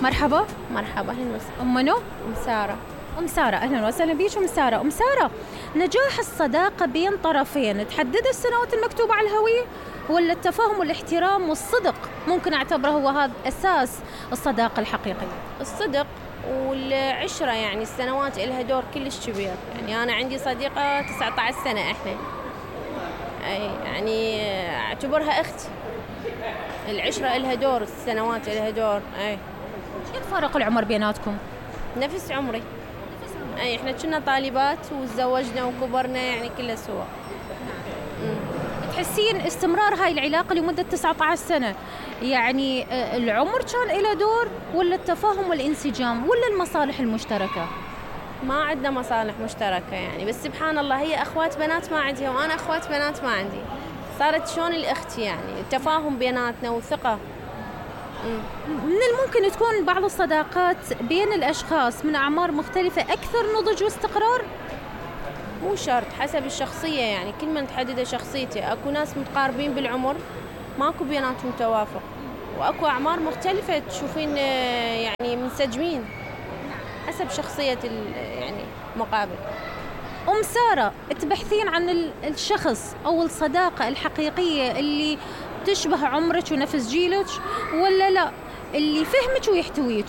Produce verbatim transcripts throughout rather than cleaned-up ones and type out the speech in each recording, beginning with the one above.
مرحبا. مرحبا، أهلا وسهلا. أم منو؟ أم سارة. أم سارة، أهلا وسهلا بيش أم سارة. أم سارة، نجاح الصداقة بين طرفين تحدد السنوات المكتوبة على الهوية، ولا التفاهم والاحترام والصدق ممكن أعتبره هو هذا أساس الصداقة الحقيقية؟ الصدق والعشرة، يعني السنوات إلها دور كلش كبير. يعني أنا عندي صديقة تسعة عشر سنة إحنا، أي يعني أعتبرها أختي. العشرة إلها دور، السنوات إلها دور. أي شو فرق العمر بيناتكم؟ نفس عمري. أي إحنا كنا طالبات وتزوجنا وكبرنا، يعني كلها سوا. تحسين استمرار هاي العلاقة لمدة تسعة عشر سنة يعني العمر كان له دور، ولا التفاهم والانسجام، ولا المصالح المشتركة؟ ما عندنا مصالح مشتركة يعني، بس سبحان الله هي أخوات بنات ما عندها وأنا أخوات بنات ما عندي، صارت شلون الأخت يعني، التفاهم بيناتنا وثقة. من الممكن تكون بعض الصداقات بين الأشخاص من أعمار مختلفة أكثر نضج واستقرار؟ مو شرط، حسب الشخصية يعني، كل من تحدد شخصيته. أكو ناس متقاربين بالعمر ماكو بيناتهم توافق، وأكو أعمار مختلفة تشوفين يعني منسجمين، حسب شخصية يعني مقابل. أم سارة، تبحثين عن الشخص أو الصداقة الحقيقية اللي تشبه عمرك ونفس جيلك، ولا لا اللي يفهمك ويحتويك؟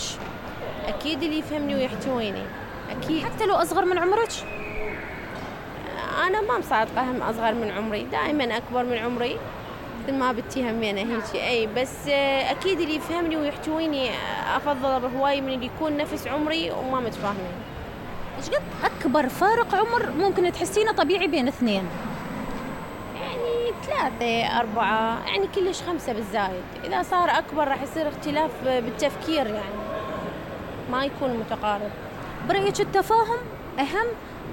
أكيد اللي يفهمني ويحتويني، أكيد. حتى لو أصغر من عمرك؟ أنا ما مصادقة هم أصغر من عمري، دائما أكبر من عمري مثل ما بتي همينة هيك. أي بس أكيد اللي يفهمني ويحتويني أفضل بهواي من اللي يكون نفس عمري وما متفاهمين. إيش قد أكبر فارق عمر ممكن تحسينه طبيعي بين اثنين؟ يعني ثلاثة أربعة، يعني كلش خمسة بالزايد. إذا صار أكبر راح يصير اختلاف بالتفكير، يعني ما يكون متقارب. برأيك التفاهم أهم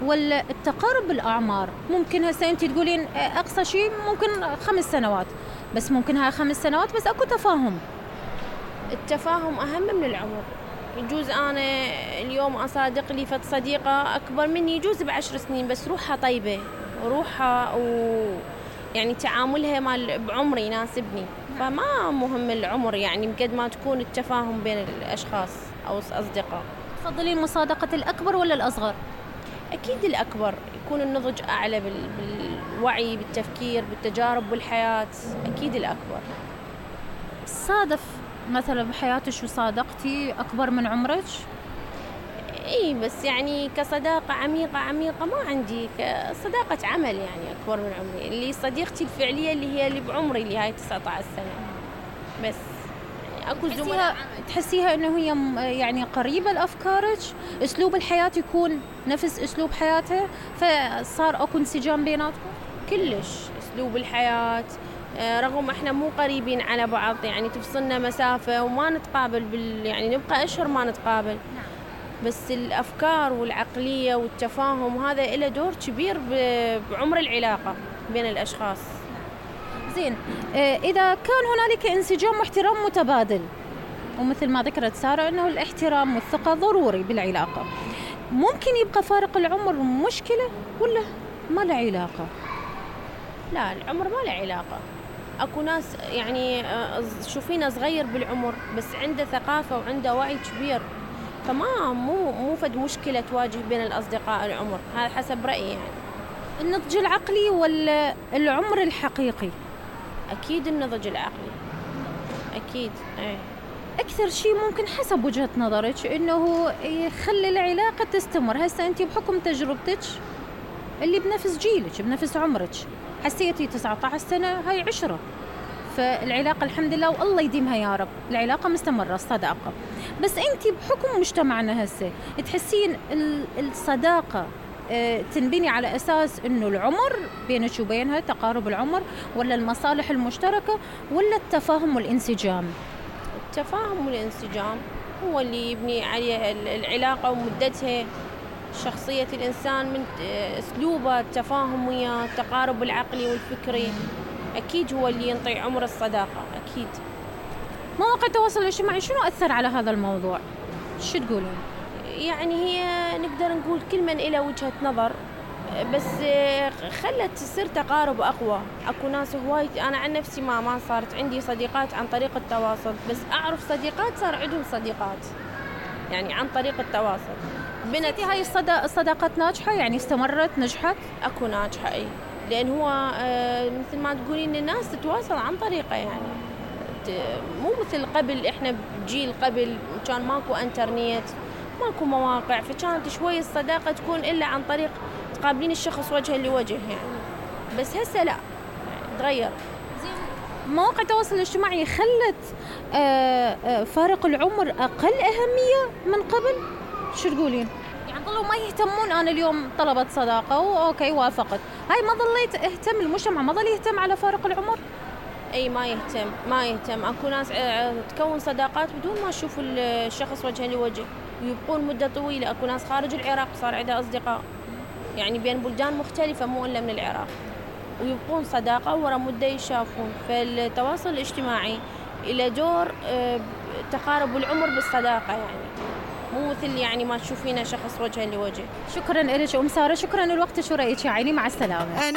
ولا التقارب بالأعمار؟ ممكن هسه أنت تقولين أقصى شيء ممكن خمس سنوات، بس ممكن هاي خمس سنوات بس أكو تفاهم. التفاهم أهم من العمر. يجوز أنا اليوم أصادق لي فت صديقة أكبر مني يجوز بعشر سنين، بس روحها طيبة، روحها و يعني تعاملها مال بعمري يناسبني، فما مهم العمر يعني، بقد ما تكون التفاهم بين الأشخاص أو الأصدقاء. تفضلين مصادقة الأكبر ولا الأصغر؟ أكيد الأكبر، يكون النضج أعلى بالوعي بالتفكير بالتجارب بالحياة، أكيد الأكبر. صادف مثلا بحياتك وصادقتي أكبر من عمرك؟ إيه بس يعني كصداقة عميقة عميقة ما عندي، كصداقة عمل يعني أكبر من عمري. اللي صديقتي الفعلية اللي هي اللي بعمري اللي هاي تسعة عشر سنة بس. يعني أكو زملاء تحسيها إنه هي يعني قريبة لأفكارك، أسلوب الحياة يكون نفس أسلوب حياتها، فصار أكو انسجام بيناتكم؟ كلش أسلوب الحياة، رغم احنا مو قريبين على بعض يعني، تفصلنا مسافة وما نتقابل بال يعني نبقى أشهر ما نتقابل. نعم. بس الأفكار والعقلية والتفاهم هذا له دور كبير بعمر العلاقة بين الأشخاص. زين، إذا كان هنالك انسجام واحترام متبادل، ومثل ما ذكرت سارة أنه الاحترام والثقة ضروري بالعلاقة، ممكن يبقى فارق العمر مشكلة ولا ما له علاقة؟ لا، العمر ما له علاقة. أكو ناس يعني شوفينا صغير بالعمر بس عنده ثقافة وعنده وعي كبير، فما مو مو فد مشكلة تواجه بين الأصدقاء العمر، هذا حسب رأيي يعني. النضج العقلي ولا العمر الحقيقي؟ أكيد النضج العقلي، أكيد. أي. أكثر شيء ممكن حسب وجهة نظرك إنه يخلي العلاقة تستمر، هسه أنت بحكم تجربتك اللي بنفس جيلك بنفس عمرك، حسيتي تسعة عشر سنة هاي عشرة، فالعلاقة الحمد لله والله يديمها يا رب، العلاقة مستمرة الصداقة. بس أنت بحكم مجتمعنا هسه تحسين الصداقة تنبني على أساس إنه العمر بينك وبينها تقارب العمر، ولا المصالح المشتركة، ولا التفاهم والانسجام؟ التفاهم والانسجام هو اللي يبني عليه العلاقة ومدتها. شخصية الإنسان من أسلوبه، التفاهم وياه، التقارب العقلي والفكري، أكيد هو اللي ينطي عمر الصداقة. أكيد. مواقع التواصل الاجتماعي شنو أثر على هذا الموضوع؟ شو تقولون؟ يعني هي نقدر نقول كل من إلى وجهة نظر، بس خلت تصير تقارب أقوى. أكو ناس هواي، أنا عن نفسي ما ما صارت عندي صديقات عن طريق التواصل، بس أعرف صديقات صار عندهم صديقات يعني عن طريق التواصل. بنت هاي الصدا... الصداقات ناجحة يعني استمرت نجحت؟ أكو ناجحة أي، لأن هو مثل ما تقولين الناس تتواصل عن طريقه، يعني مو مثل قبل. إحنا بجيل قبل كان ماكو إنترنت، ماكو مواقع، فكانت شوي الصداقة تكون إلا عن طريق تقابلين الشخص وجها لوجه يعني. بس هسه لا، تغير. مواقع التواصل الاجتماعي خلت آآ آآ فارق العمر أقل أهمية من قبل؟ شو تقولين؟ يعني ظلوا ما يهتمون. أنا اليوم طلبت صداقة وأوكي وافقت، هاي ما ظليت اهتم، المجتمع ما ظل يهتم على فارق العمر؟ أي ما يهتم، ما يهتم. أكو ناس تكون صداقات بدون ما تشوف الشخص وجها لوجه ويبقون مدة طويلة. أكو ناس خارج العراق صار عندها أصدقاء يعني بين بلدان مختلفة مو إلا من العراق، ويبقون صداقة ورا مدة يشافون. فالتواصل الاجتماعي إلى دور تقارب العمر بالصداقة، يعني مو مثل يعني ما تشوفينه شخص وجها لوجه. شكرا لك أم سارة، شكرا لوقتك ورأيك يا عيني، مع السلامة.